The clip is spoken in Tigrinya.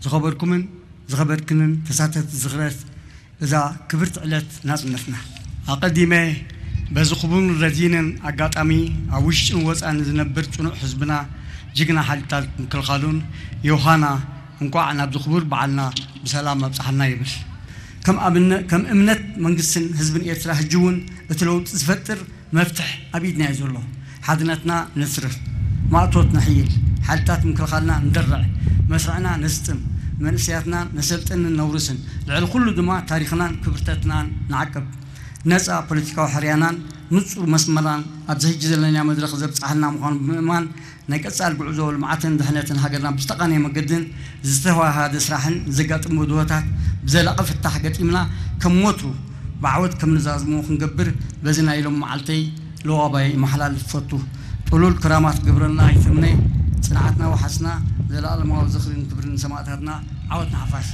ዝኸበርኩምን ዝኸበርክንን ተሳተፍቲ ዝኽረት እዛ ክብርቲ ዕለት ናጽነትና፣ ኣቐዲመ በዚ ክቡርን ረዚንን ኣጋጣሚ ኣብ ውሽጥን ወጻእን ዝነብር ጽኑዕ ህዝብና፣ ጅግና ሓይልታት ምክልኻሉን ዮሃና እንቋዕ ናብዚ ክቡር በዓልና ብሰላም ኣብጽሓና ይብል። ከም ኣብነ-፣ ከም እምነት መንግስትን ህዝብን ኤርትራ፣ ሕጂ እውን እቲ ለውጢ ዝፈጥር መፍትሕ ኣብ ኢድና እዩ ዘሎ። ሓድነትና ነስርር፣ ማእቶት ነሕይል፣ ሓይልታት ምክልኻልና እንደርዕ፣ መስርዕና ነስጥም፣ መንእሰያትና ነሰልጥንን ነውርስን፣ ልዕሊ ኩሉ ድማ ታሪኽናን ክብርተትናን ንዓቅብ። ነጻ ፖለቲካዊ ሕርያናን ንጹር መስመርናን ኣብዚ ሕጂ ዘለናዮ መድረኽ ዘብጽሓና ምዃኑ ብምእማን፣ ናይ ቀጻሊ ጉዕዞ ልምዓትን ድሕነትን ሃገርና ብዝተቓነየ መገድን ዝተዋሃደ ስራሕን ዘጋጥሙ ብድሆታት ብዘላቒ ፍታሕ ገጢምና፣ ከም ወትሩ ብዓወት ከም ንዛዝሞ ክንገብር በዚ ናይ ሎም መዓልተይ ለዋባይ መሓላልፍ ፈቱ። ጥሉል ክራማት ግብርና ይትምነ፣ ጽንዓትና ወሓስና፣ ዘላለማዊ ዝኽርን ክብርን ንሰማእታትና፣ ዓወት ንሓፋሽ።